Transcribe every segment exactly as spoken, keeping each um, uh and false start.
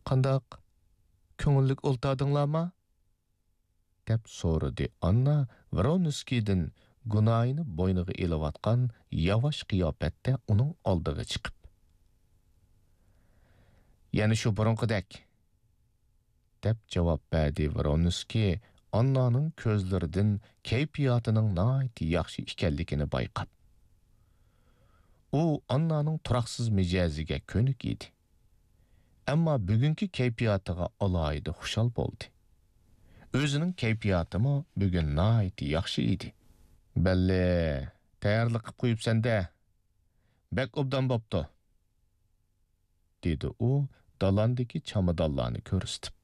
«قانداق؟ كۆڭۈللۈك ئولتۇردۇڭلارمۇ؟» دەپ سورىدى ئاننا ۋرونسكىيدىن گۇناھىنى بوينىغا ئېلىۋاتقان ياۋاش قىياپەتتە ئۇنىڭ ئالدىغا چىقىپ. «يەنە شۇ بۇرۇنقىدەك» دەپ جاۋاب بەردى ۋرونسكىي، ئاننانىڭ كۆزلىرىدىن كەيپىياتىنىڭ ناھايىتى ياخشى ئىكەنلىكىنى بايقاپ. ئۇ ئاننانىڭ تۇراقسىز مىجەزىگە كۆنۈك ئىدى. ئەمما بۈگۈنكى كەيپىياتىغا ئالاھىدە خۇشال بولدى. ئۆزىنىڭ كەيپىياتىمۇ بۈگۈن ناھايىتى ياخشى ئىدى. «بەللى، تەييارلىق قىپ قويۇپسەن-دە. بەك ئوبدان بوپتۇ»، دېدى ئۇ دالاندىكى چامادانلارنى كۆرسىتىپ.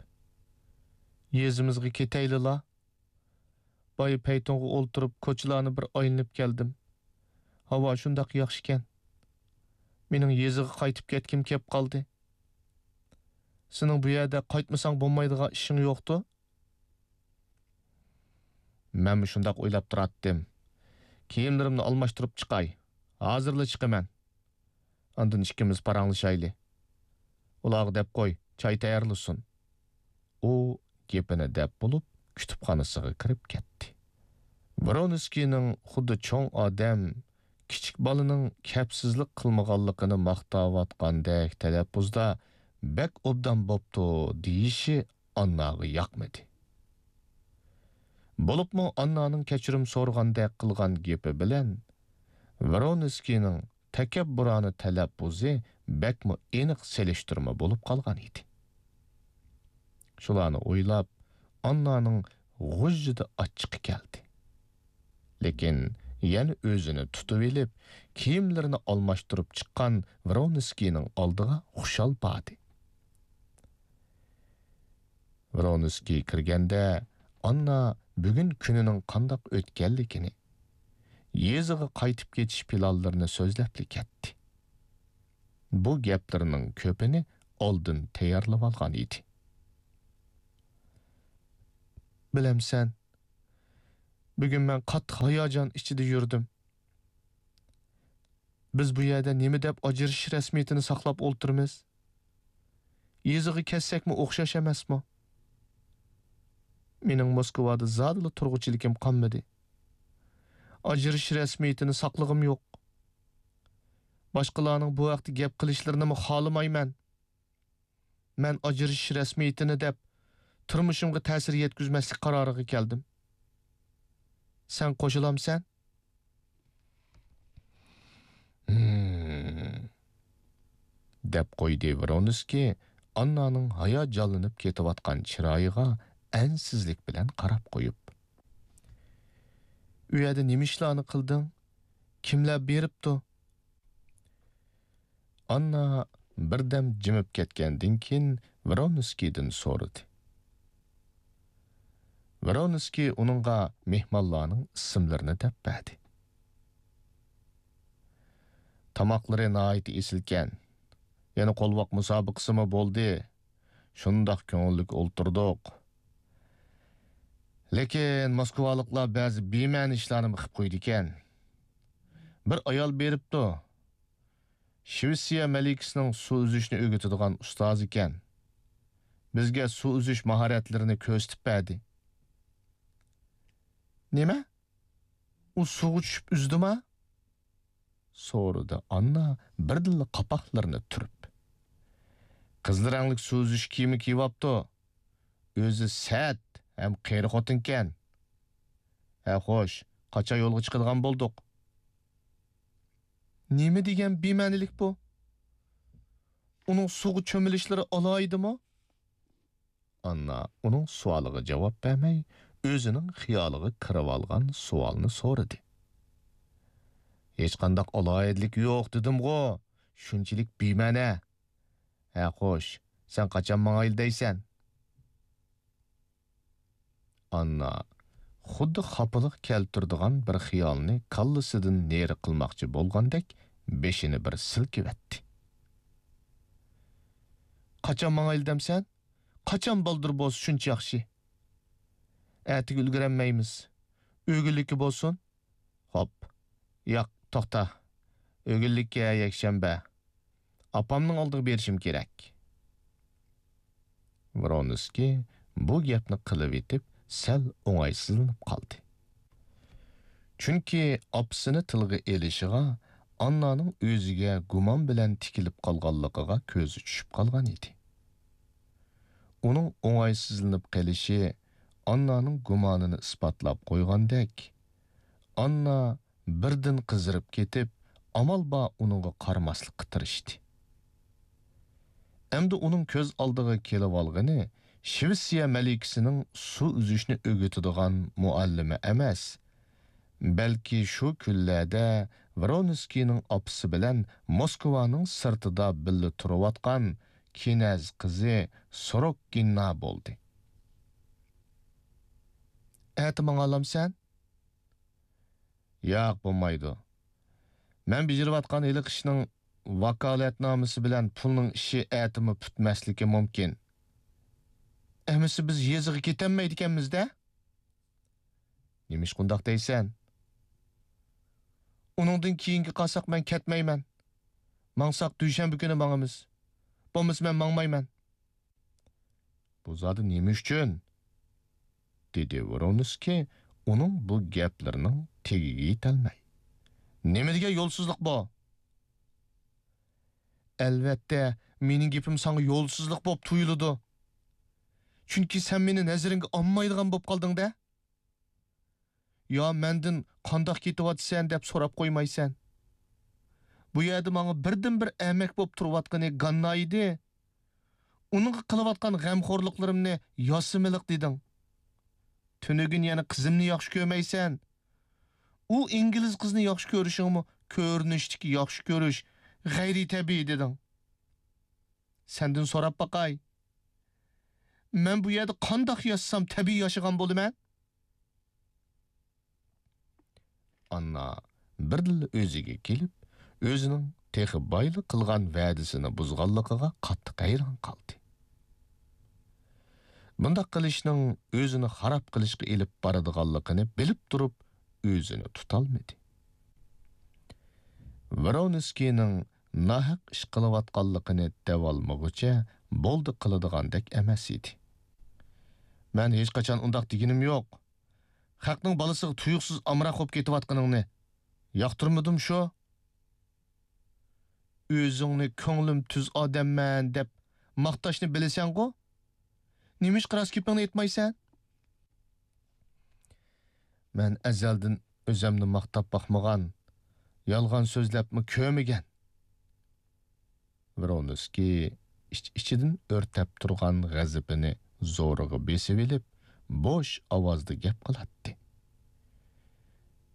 «يېزىمىزغا كېتەيلىلا. بايا پەيتۇنغا ئولتۇرۇپ، كوچىلارنى بىر ئايلىنىپ كەلدىم. ھاۋا شۇنداق ياخشىكەن. مېنىڭ يېزىغا قايتىپ كەتكۈم كەپ قالدى. سېنىڭ بۇ يەردە قايتمىساڭ بولمايدىغان ئىشىڭ يوقتۇ؟» «مەنمۇ شۇنداق ئويلاپ تۇراتتىم. كىيىملىرىمنى ئالماشتۇرۇپ چىقاي. ھازىرلا چىقىمەن. ئاندىن ئىككىمىز پاراڭلىشايلى. ئۇلارغا دەپ قوي، چاي تەييارلىسۇن.» ئۇ گېپىنى دەپ بولۇپ، كۇتۇپخانىسىغا كىرىپ كەتتى. ۋرونسكىينىڭ خۇددى چوڭ ئادەم، كىچىك بالىنىڭ كەپسىزلىك قىلمىغانلىقىنى ماختاۋاتقاندەك تەلەپپۇزدا «بەك ئوبدان بوپتۇ» دېيىشى ئانناغا ياقمىدى. بولۇپمۇ ئاننانىڭ كەچۈرۈم سورىغاندەك قىلغان گېپى بىلەن ۋرونسكىينىڭ تەكەببۇرانە تەلەپپۇزى بەكمۇ ئېنىق سېلىشتۇرما بولۇپ قالغان ئىدى. شۇلارنى ئويلاپ، ئاننانىڭ غۇژژىدە ئاچچىقى كەلدى. لېكىن يەنە ئۆزىنى تۇتۇۋېلىپ، كىيىملىرىنى ئالماشتۇرۇپ چىققان ۋرونسكىينىڭ ئالدىغا خۇشال باردى. ۋرونسكىي كىرگەندە، ئاننا بۈگۈن كۈنىنىڭ قانداق ئۆتكەنلىكىنى، يېزىغا قايتىپ كېتىش پىلانلىرىنى سۆزلەپلا كەتتى. بۇ گەپلىرىنىڭ كۆپىنى ئالدىن تەييارلىۋالغان ئىدى. بىلەمسەن، بۈگۈن مەن قاتتىق ھاياجان ئىچىدە يۈردۈم. بىز بۇ يەردە نېمە دەپ ئاجرىشىش رەسمىيىتىنى ساقلاپ ئولتۇرىمىز؟ يېزىغا كەتسەكمۇ ئوخشاش ئەمەسمۇ؟ مېنىڭ موسكۋادا زادىلا تۇرغۇچىلىكىم قالمىدى. ئاجرىشىش رەسمىيىتىنى ساقلىغۇم يوق. باشقىلارنىڭ بۇ ھەقتە گەپ قىلىشلىرىنىمۇ خالىمايمەن. مەن ئاجرىشىش رەسمىيىتىنى دەپ، تۇرمۇشۇمغا تەسىر يەتكۈزمەسلىك قارارىغا كەلدىم. سەن قوشۇلامسەن؟ ھىم، دەپ قويدى ۋرونسكىي ئاننانىڭ ھاياجانلىنىپ كېتىۋاتقان چىرايىغا ئەنسىزلىك بىلەن قاراپ قويۇپ. ئۇ يەردە نېمە ئىشلارنى قىلدىڭ؟ كىملەر بېرىپتۇ؟ ئاننا بىردەم جىمىپ كەتكەندىن كېيىن ۋرونسكىيدىن سورىدى. ۋرونسكىي ئۇنىڭغا مېھمانلارنىڭ ئىسىملىرىنى دەپ بەردى. تاماقلىرى ناھايىتى ئېسىلكەن. يەنە قولۋاق مۇسابىقىسىمۇ بولدى. شۇنداق كۆڭۈللۈك ئولتۇردۇق. لېكىن موسكۋالىقلار بەزى بىمەنە ئىشلارنىمۇ قىپ قويىدىكەن. بىر ئايال بېرىپتۇ. شىۋېتسىيە مەلىكىسىنىڭ سۇ ئۈزۈشنى ئۆگىتىدىغان ئۇستازى ئىكەن. بىزگە سۇ ئۈزۈش ماھارەتلىرىنى كۆرسىتىپ بەردى. نېمە؟ ئۇ سۇغا چۈشۈپ ئۈزدىما؟ سورىدى ئاننا بىردىنلا قاپاقلىرىنى تۈرۈپ. قىزىل رەڭلىك سۇ ئۈزۈش كىيىمى كىيىۋاپتۇ. ئۆزى سەت ھەم قېرى خوتۇنكەن. ھە خوش، قاچان يولغا چىقىدىغان بولدۇق؟ نېمە دېگەن بىمەنىلىك بۇ؟ ئۇنىڭ سۇغا چۆمۈلۈشلىرى ئالاھىدىمۇ؟ ئاننا ئۇنىڭ سوئالىغا جاۋاب بەرمەي، ئۆزىنىڭ خىيالىغا كىرىۋالغان سوئالنى سورىدى. ھېچقانداق ئالاھىدىلىك يوق دېدىمغۇ، شۇنچىلىك بىمەنە. ھە خوش، سەن قاچان ماڭايلى دەيسەن؟ ئاننا خۇددى خاپىلىق كەلتۈرىدىغان بىر خىيالنى كاللىسىدىن نېرى قىلماقچى بولغاندەك بېشىنى بىر سىلكىۋەتتى. قاچان ماڭايلى دەمسەن؟ قاچان بالدۇر بولسا شۇنچە ياخشى. ئەتىگە ئۈلگۈرەلمەيمىز. ئۆگۈنلۈككە بولسۇن. خوپ. ياق، توختا. ئۆگۈنلۈككە يەكشەنبە. ئاپامنىڭ ئالدىغا بېرىشىم كېرەك. ۋرونسكىي بۇ گەپنى قىلىۋېتىپ سەل ئوڭايسىزلىنىپ قالدى. چۈنكى ئاپىسىنى تىلغا ئېلىشىغا ئاننانىڭ ئۆزىگە گۇمان بىلەن تىكىلىپ قالغانلىقىغا كۆزى چۈشۈپ قالغان ئىدى. ئۇنىڭ ئوڭايسىزلىنىپ قېلىشى ئاننانىڭ گۇمانىنى ئىسپاتلاپ قويغاندەك، ئاننا بىردىن قىزىرىپ كېتىپ، ئامال بار ئۇنىڭغا قارىماسلىققا تىرىشتى. ئەمدى ئۇنىڭ كۆز ئالدىغا كېلىۋالغىنى شىۋېتسىيە مەلىكىسىنىڭ سۇ ئۈزۈشنى ئۆگىتىدىغان مۇئەللىمى ئەمەس، بەلكى شۇ كۈنلەردە ۋرونسكىينىڭ ئاپىسى بىلەن موسكۋانىڭ سىرتىدا بىللە تۇرۇۋاتقان كىنەز قىزى سوروككىنا بولدى. ئەتە ماڭالامسەن؟ ياق، بولمايدۇ. مەن بېجىرىۋاتقان ھېلىقى ئىشنىڭ ۋاكالەتنامىسى بىلەن پۇلنىڭ ئىشى ئەتىمۇ پۈتمەسلىكى مۇمكىن. ئەمىسە بىز يېزىغا كېتەلمەيدىكەنمىز-دە؟ نېمىشقا ئۇنداق دەيسەن؟ ئۇنىڭدىن كېيىنگە قالساق مەن كەتمەيمەن. ماڭساق دۈشەنبە كۈنى ماڭىمىز. بولمىسا مەن ماڭمايمەن. بۇ زادى نېمە ئۈچۈن؟ دېدى ۋرونسكىي ئۇنىڭ بۇ گەپلىرىنىڭ تېگىگە يېتەلمەي. نېمە دېگەن يولسىزلىق بۇ؟ ئەلۋەتتە، مېنىڭ گېپىم ساڭا يولسىزلىق بولۇپ تۇيۇلىدۇ. چۈنكى سەن مېنى نەزىرىڭگە ئالمايدىغان بولۇپ قالدىڭ-دە. يا مەندىن قانداق كېتىۋاتىسەن دەپ سوراپ قويمايسەن. بۇ يەردە ماڭا بىردىنبىر ئەمەك بولۇپ تۇرۇۋاتقىنى گاننا ئىدى. ئۇنىڭغا قىلىۋاتقان غەمخورلۇقلىرىمنى ياسىمىلىق دېدىڭ. تۈنۈگۈن يەنە قىزىمنى ياخشى كۆرمەيسەن. ئۇ ئىنگلىز قىزنى ياخشى كۆرۈشۈڭمۇ كۆرۈنۈشتىكى ياخشى كۆرۈش، غەيرىي تەبىئىي دېدىڭ. سەندىن سوراپ باقاي. مەن بۇ يەردە قانداق ياشىسام تەبىئىي ياشىغان بولىمەن؟ ئاننا بىردىنلا ئۆزىگە كېلىپ، ئۆزىنىڭ تېخى بايلا قىلغان ۋەدىسىنى بۇزغانلىقىغا قاتتىق ھەيران قالدى. بۇنداق قىلىشنىڭ ئۆزىنى خاراب قىلىشقا ئېلىپ بارىدىغانلىقىنى بىلىپ تۇرۇپ، ئۆزىنى تۇتالمىدى. ۋرونسكىينىڭ ناھەق ئىش قىلىۋاتقانلىقىنى دەۋالمىغۇچە بولدى قىلىدىغاندەك ئەمەس ئىدى. مەن ھېچقاچان ئۇنداق دېگىنىم يوق. خەقنىڭ بالىسىغا تۇيۇقسىز ئامراق بولۇپ كېتىۋاتقىنىڭنى ياقتۇرمىدىم شۇ. ئۆزۈڭنى كۆڭلۈم تۈز ئادەممەن دەپ ماختاشنى بىلىسەنغۇ؟ نېمىشقا راست گېپىڭنى ئېيتمايسەن؟ مەن ئەزەلدىن ئۆزەمنى ماختاپ باقمىغان، يالغان سۆزلەپمۇ كۆرمىگەن. ۋرونسكىي ئىچ-ئىچىدىن ئۆرتەپ تۇرغان غەزىپىنى زورىغا بېسىۋېلىپ، بوش ئاۋازدا گەپ قىلاتتى.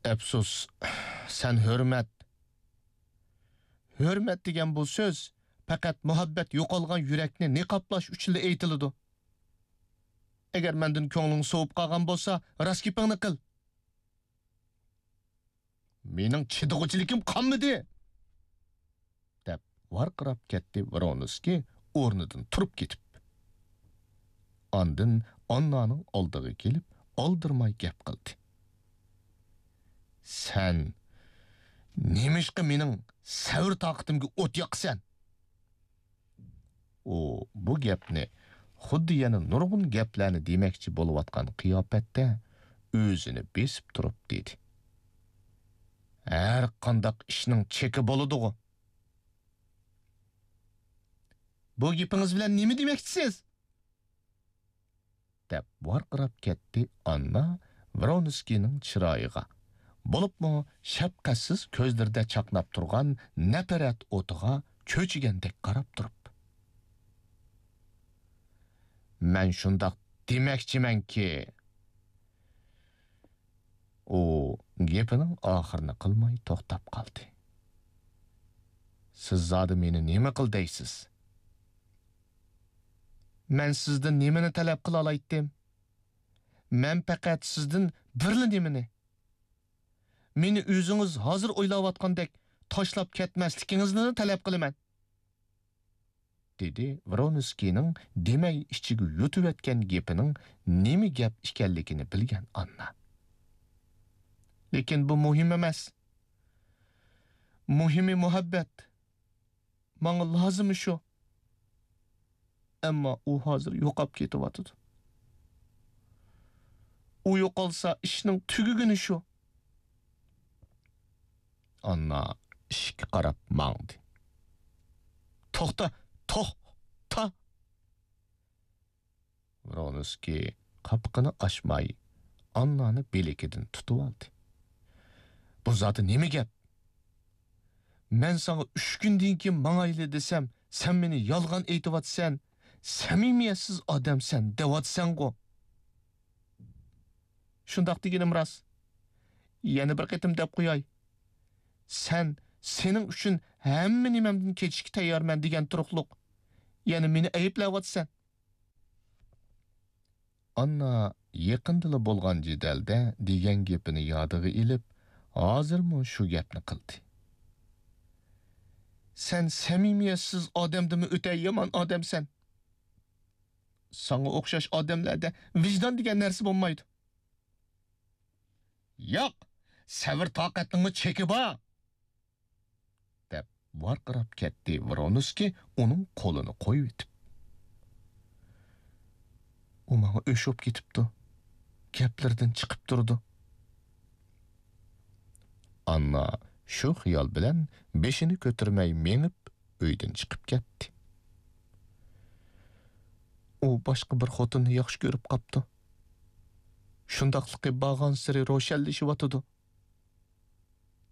ئەپسۇس، سەن ھۆرمەت. ھۆرمەت دېگەن بۇ سۆز پەقەت مۇھەببەت يوقالغان يۈرەكنى نىقابلاش ئۈچۈنلا ئېيتىلىدۇ. ئەگەر مەندىن كۆڭلۈڭ سوۋۇپ قالغان بولسا، راست گېپىڭنى قىل. مېنىڭ چىدىغۇچىلىكىم قالمىدى! دەپ ۋارقىراپ كەتتى ۋرونسكىي ئورنىدىن تۇرۇپ كېتىپ. ئاندىن ئاننانىڭ ئالدىغا كېلىپ، ئالدىرىماي گەپ قىلدى. سەن نېمىشقا مېنىڭ سەۋر-تاقىتىمگە ئوت ياقىسەن؟ ئۇ بۇ گەپنى خۇددى يەنە نۇرغۇن گەپلەرنى دېمەكچى بولۇۋاتقان قىياپەتتە ئۆزىنى بېسىپ تۇرۇپ دېدى. ھەر قانداق ئىشنىڭ چېكى بولىدىغۇ. بۇ گېپىڭىز بىلەن نېمە دېمەكچىسىز؟ دەپ ۋارقىراپ كەتتى ئاننا ۋرونسكىينىڭ چىرايىغا، بولۇپمۇ شەپقەتسىز كۆزلىرىدە چاقناپ تۇرغان نەپرەت ئوتىغا چۆچۈگەندەك قاراپ تۇرۇپ. مەن شۇنداق دېمەكچىمەنكى، ئۇ گېپىنىڭ ئاخىرىنى قىلماي توختاپ قالدى. سىز زادى مېنى نېمە قىل دەيسىز؟ مەن سىزدىن نېمىنى تەلەپ قىلالايتتىم؟ مەن پەقەت سىزدىن بىرلا نېمىنى، مېنى ئۆزىڭىز ھازىر ئويلاۋاتقاندەك تاشلاپ كەتمەسلىكىڭىزنىلا تەلەپ قىلىمەن. دېدى ۋرونسكىينىڭ دېمەي ئىچىگە يۇتۇۋەتكەن گېپىنىڭ نېمە گەپ ئىكەنلىكىنى بىلگەن ئاننا. لېكىن بۇ مۇھىم ئەمەس. مۇھىمى مۇھەببەت. ماڭا لازىمى شۇ. ئەمما ئۇ ھازىر يوقاپ كېتىۋاتىدۇ. ئۇ يوقالسا، ئىشنىڭ تۈگىگىنى شۇ. ئاننا ئىشىككە قاراپ ماڭدى. توختا، توختا! ۋرونسكىي قاپىقىنى ئاچماي، ئاننانى بىلىكىدىن تۇتۇۋالدى. بۇ زادى نېمە گەپ؟ مەن ساڭا ئۈچ كۈندىن كېيىن ماڭايلى دېسەم، سەن مېنى يالغان ئېيتىۋاتىسەن، سەمىمىيەتسىز ئادەمسەن دەۋاتىسەنغۇ؟ شۇنداق دېگىنىم راست. يەنە بىر قېتىم دەپ قوياي. سەن سېنىڭ ئۈچۈن ھەممە نېمەمدىن كېچىشكە تەييارمەن دېگەن تۇرۇقلۇق. يەنە مېنى ئەيىبلەۋاتىسەن. ئاننا يېقىندىلا بولغان جېدەلدە دېگەن گېپىنى يادىغا ئېلىپ، ھازىرمۇ شۇ گەپنى قىلدى. سەن سەمىمىيەتسىز ئادەمدىنمۇ ئۆتە يامان ئادەمسەن. ساڭا ئوخشاش ئادەملەردە ۋىجدان دېگەن نەرسە بولمايدۇ. ياق، سەۋر-تاقەتنىڭمۇ چېكى بار! دەپ ۋارقىراپ كەتتى ۋرونسكىي ئۇنىڭ قولىنى قويۇۋېتىپ. ئۇ ماڭا ئۆچ بولۇپ كېتىپتۇ. گەپلىرىدىن چىقىپ تۇرىدۇ. ئاننا شۇ خىيال بىلەن بېشىنى كۆتۈرمەي مېڭىپ، ئۆيدىن چىقىپ كەتتى. ئۇ باشقا بىر خوتۇننى ياخشى كۆرۈپ قاپتۇ. شۇنداقلىقى بارغانسېرى روشەنلىشىۋاتىدۇ،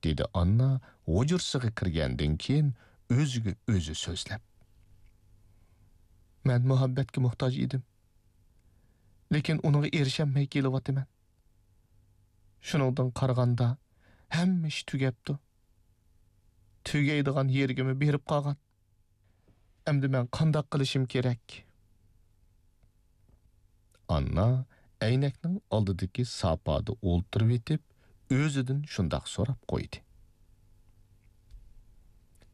دېدى ئاننا ھۇجرىسىغا كىرگەندىن كېيىن ئۆزىگە ئۆزى سۆزلەپ. مەن مۇھەببەتكە موھتاج ئىدىم. لېكىن ئۇنىڭغا ئېرىشەلمەي كېلىۋاتىمەن. شۇنىڭدىن قارىغاندا، ھەممە ئىش تۈگەپتۇ. تۈگەيدىغان يېرىگىمۇ بېرىپ قالغان. ئەمدى مەن قانداق قىلىشىم كېرەك؟ ئاننا ئەينەكنىڭ ئالدىدىكى ساپادا ئولتۇرۇۋېتىپ، ئۆزىدىن شۇنداق سوراپ قويدى.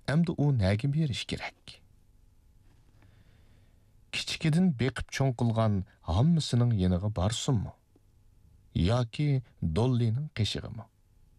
ئەمدى ئۇ نەگە بېرىش كېرەك؟ كىچىكىدىن بېقىپ چوڭ قىلغان ھاممىسىنىڭ يېنىغا بارسۇنمۇ؟ ياكى دوللىنىڭ قېشىغىمۇ؟